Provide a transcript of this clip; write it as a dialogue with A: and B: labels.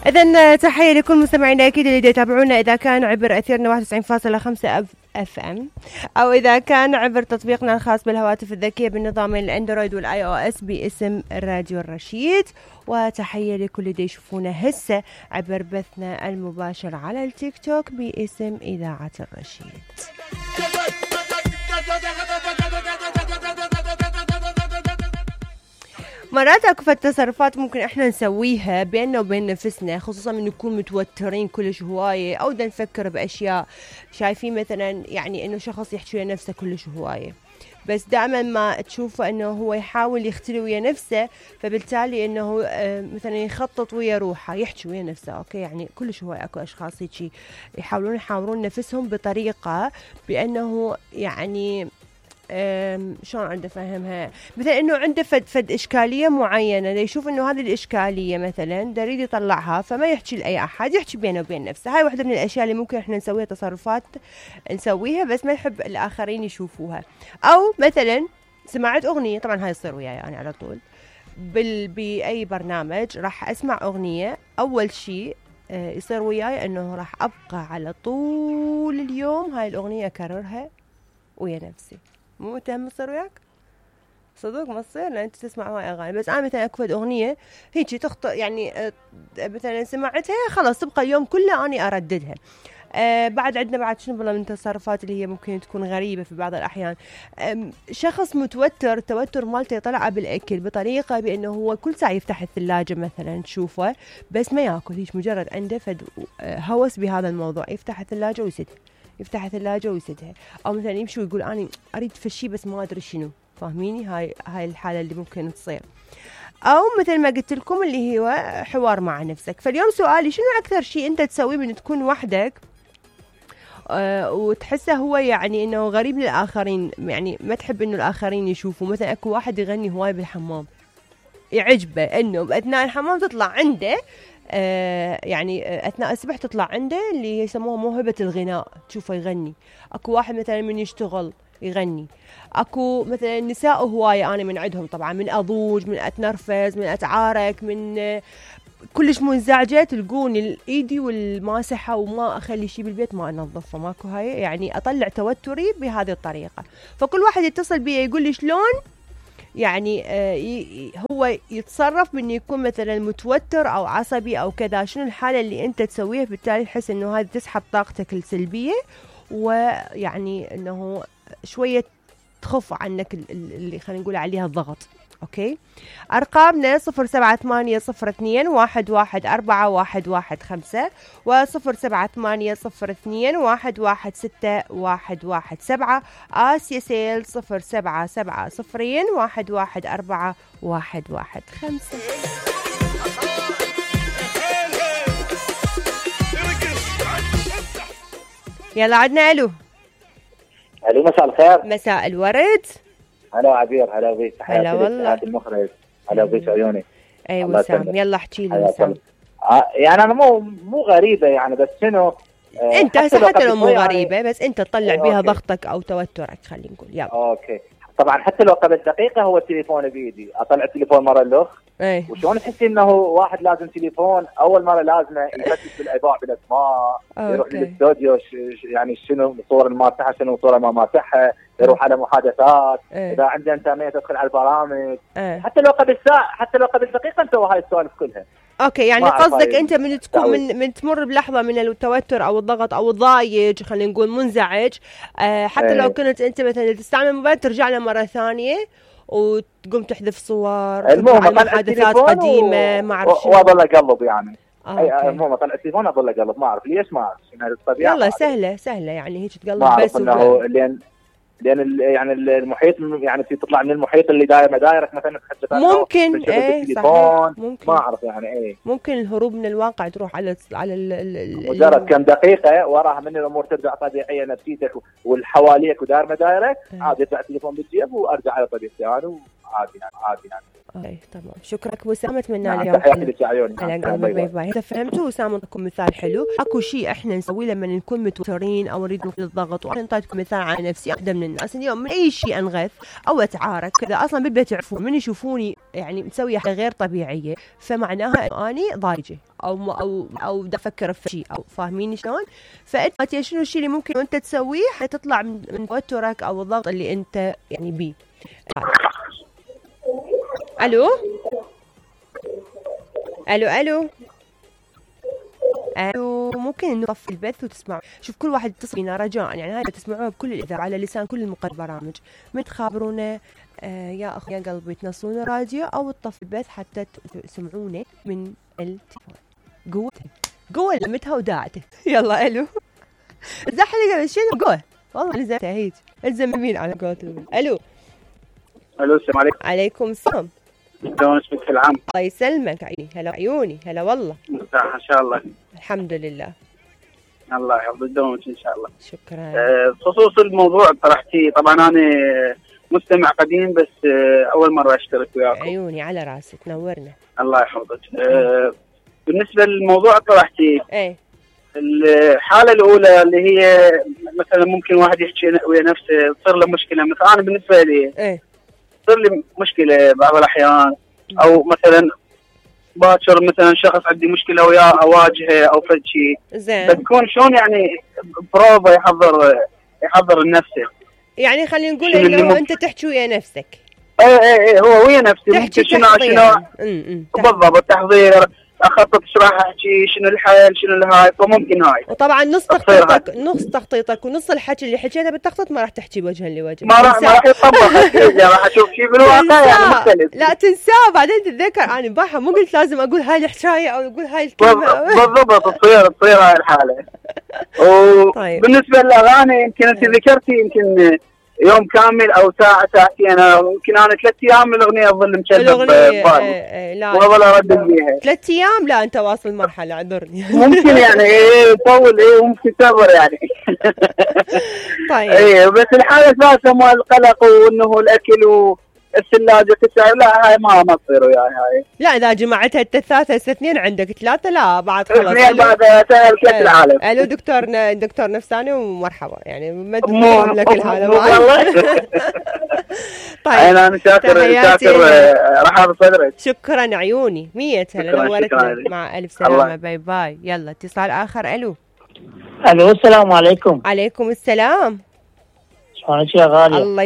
A: إذن تحية لكل مستمعينا أكيد اللي يتابعونا إذا كان عبر أثيرنا 91.5 اف ام، أو إذا كان عبر تطبيقنا الخاص بالهواتف الذكية بالنظام الأندرويد والآي أو إس باسم راديو الرشيد. وتحية لكل اللي يشوفونا هسه عبر بثنا المباشر على التيك توك باسم إذاعة الرشيد. مرات اكو تصرفات ممكن احنا نسويها بيننا وبين نفسنا، خصوصا من نكون متوترين كلش هوايه او دا نفكر باشياء شايفين مثلا يعني انه شخص يحكي ويا نفسه كلش هوايه، بس دائما ما تشوفه انه هو يحاول يختلي ويا نفسه، فبالتالي انه مثلا يخطط ويا روحه يحكي ويا نفسه. اوكي يعني كلش هوايه اكو اشخاص هيك يحاولون نفسهم بطريقه بانه يعني شلون عنده فهمها، مثلا انه عنده فد اشكاليه معينه، يشوف انه هذه الاشكاليه مثلا يريد يطلعها، فما يحكي لاي احد، يحكي بينه وبين نفسه. هاي واحده من الاشياء اللي ممكن احنا نسويها، تصرفات نسويها بس ما يحب الاخرين يشوفوها. او مثلا سمعت اغنيه، طبعا هاي يصير وياي انا على طول باي برنامج راح اسمع اغنيه، اول شيء يصير وياي انه راح ابقى على طول اليوم هاي الاغنيه اكررها ويا نفسي. مو متهم تصير وياك؟ صدق ما تصير، لان انت تسمع هواي اغاني، بس انا مثلا اكو اغنيه هيك تخطئ يعني مثلا سمعتها خلاص تبقى اليوم كله اني ارددها. بعد عندنا بعد شنو بالله من التصرفات اللي هي ممكن تكون غريبه في بعض الاحيان. شخص متوتر، التوتر مالته يطلع بالاكل بطريقه بانه هو كل ساعه يفتح الثلاجه مثلا تشوفه بس ما ياكل، هيك مجرد عنده فد هوس بهذا الموضوع، يفتح الثلاجه ويسدها، يفتح الثلاجة ويسدها، أو مثلا يمشي ويقول أنا أريد فشي بس ما أدري شنو. فاهميني؟ هاي الحالة اللي ممكن تصير. أو مثل ما قلت لكم اللي هو حوار مع نفسك. فاليوم سؤالي، شنو أكثر شيء أنت تسويه من تكون وحدك وتحسه هو يعني إنه غريب للآخرين، يعني ما تحب إنه الآخرين يشوفوا؟ مثلا أكو واحد يغني هواي بالحمام، يعجبه إنه بأثناء الحمام تطلع عنده يعني أثناء السبح تطلع عنده اللي يسموها موهبة الغناء، تشوفه يغني. أكو واحد مثلا من يشتغل يغني. أكو مثلا نساء هواية أنا من عندهم طبعا، من أضوج، من أتنرفز، من أتعارك، من كلش منزعجة تلقوني ايدي والماسحة وما أخلي شي بالبيت ما أنظفه، ماكو هاي يعني أطلع توتري بهذه الطريقة. فكل واحد يتصل بي يقول لي شلون يعني هو يتصرف من يكون مثلا متوتر او عصبي او كذا، شنو الحالة اللي انت تسويها بالتالي تحس انه هذا تسحب طاقتك السلبية، ويعني انه شوية تخف عنك اللي خلينا نقول عليها الضغط. اوكي، ارقامنا 0780211415 و0780211617 آسيا سيل 0770211415. يلا عدنا. الو
B: مساء الخير.
A: مساء الورد.
B: هلا عبير، هلا بيك.
A: هلا والله.
B: المخرج. هلا بيك عيوني.
A: اي وسام، يلا احكي لي وسام.
B: يعني انا مو غريبه يعني، بس شنو
A: انت حتى لو مو غريبه بس انت تطلع بيها ضغطك او توترك خلينا نقول. يلا
B: اوكي. طبعا حتى لو قبل دقيقه هو التليفون بيدي، اطلع التليفون مره الاخ. وشلون تحسي انه واحد لازم تليفون اول مره لازمه يفتش بالايضاع بالاسماء، يروح للاستوديو يعني شنو الصور الماسحه شنو الصوره ما ماسحها، يروح على محادثات، اذا عنده انترنت يدخل على البرامج. حتى لو قبل ساعه، حتى لو قبل دقيقه نسوي هاي السوالف كلها.
A: اوكي، يعني قصدك انت من تكون من تمر بلحظه من التوتر او الضغط او الضايج خلينا نقول منزعج، حتى لو كنت انت مثلا تستعمل الموبايل ترجع له مره ثانيه وتقوم تحذف صور،
B: المهم
A: محادثات قديمه ما اعرف شنو،
B: واظل اقلب يعني. المهم اطلع التليفون اظل اقلب، ما اعرف ليش، ما اعرف شنو الطبيعه.
A: يلا سهله يعني هيك تقلب بس.
B: انه لان يعني المحيط يعني تطلع من المحيط اللي داير مدايرك مثلا
A: ممكن
B: صحيح. ممكن ما اعرف يعني
A: ممكن الهروب من الواقع تروح على
B: مجرد كم دقيقه وراها من الامور ترجع طبيعيه، نفسيتك والحواليك وداير مدايرك عاد يطلع التليفون بالجيب وارجع على طبيعتي انا
A: اي تمام. شكرا ابو اسامه، اتمنى لك
B: يوم حلو. تحياتي عيوني.
A: باي باي. اذا فهمتوا اسامه لكم مثال حلو. اكو شيء احنا نسويه لما نكون متوترين او نريد نفض الضغط، وانا انطيتكم مثال على نفسي. واحده من الناس اليوم من اي شيء انغث او اتعارك كذا، اصلا بالبيت يعرفون من يشوفوني يعني مسويه حاجه غير طبيعيه، فمعناها اني ضايجه او دا افكر في شيء، او فاهميني شلون؟ فانت شنو الشيء اللي ممكن انت تسويه حتطلع من توترك او الضغط اللي انت يعني بيه. الو الو الو الو، ممكن نطفي البث وتسمعوا. شوف كل واحد يتصل بينا رجاء، يعني هاي تسمعوها بكل الاذاعه على لسان كل البرامج، من تخابرونا يا اخ يا قلبي تنصون الراديو او تطفي البث حتى تسمعونا من التليفون. قوة لمتها وداعته. يلا الو زحلق هذا الشيء قوة والله لزمتها هيك الزم يمين على قولتهم. الو
C: السلام عليكم.
A: عليكم السلام.
C: شلون اسمك في العام؟
A: الله يسلمك عيني. هلا عيوني. هلا والله.
C: مرتاح ان شاء الله.
A: الحمد لله.
C: الله يحفظ دومك ان شاء الله.
A: شكرا.
C: بخصوص الموضوع طرحتيه، طبعا انا مستمع قديم بس اول مره اشترك وياكم.
A: عيوني على راسي، تنورنا.
C: الله يحفظك. بالنسبه للموضوع طرحتيه،
A: ايه
C: الحاله الاولى اللي هي مثلا ممكن واحد يحكي ويا نفسه تصير له مشكله. مثلا انا بالنسبه لي
A: ايه
C: تصير لي مشكله بعض الاحيان، او مثلا باكر مثلا شخص عندي مشكله وياه اواجهه او فد شيء،
A: زين
C: بتكون شلون يعني بروفا يحضر لنفسه.
A: يعني خلينا نقول انه انت تحكي ويا نفسك.
C: ايه هو ويا نفسي
A: تحكي
C: شنو بالضبط التحضير، اخطط ايش راح احكي، شنو الحل، شنو الهاي، فممكن هاي.
A: وطبعا نص تخطيطك ونص الحكي اللي حكيته بالتخطيط ما راح تحكي وجها لوجه،
C: ما راح يطبق. راح اشوف شيء بالواقع يعني مختلف.
A: لا تنساه بعدين تتذكر انا امبارح مو قلت لازم اقول هاي الحكايه او اقول هاي الكلمه.
C: بالضبط تصير هاي الحاله. وبالنسبه للاغاني يمكن انت ذكرتي يمكن يوم كامل او ساعتين، يمكن انا 3 ايام من الاغنيه اظل مشبب ببالي واظل اردد بيها.
A: 3 ايام؟ لا انت واصل مرحله، اعذرني.
C: ممكن يعني يطول ممكن تبر يعني.
A: طيب
C: بس الحاله الثالثه مال القلق وانه الاكل والثلاجه تسعر، لا هاي ما تصير وياي هاي.
A: لا اذا جمعتها الثلاثه 2 عندك 3 لا بعد خلاص.
C: 2 بعد سهل كاس العالم.
A: الو دكتور نفساني ومرحبا، يعني ما تفهم لك الحاله
C: والله. طيب انا شاكر رحب صدرك.
A: شكرا عيوني. 100 هلا نورتنا. مع الف سلامه. باي باي. يلا اتصال اخر. الو
D: السلام عليكم.
A: عليكم السلام.
D: شلونك يا غاليه؟
A: الله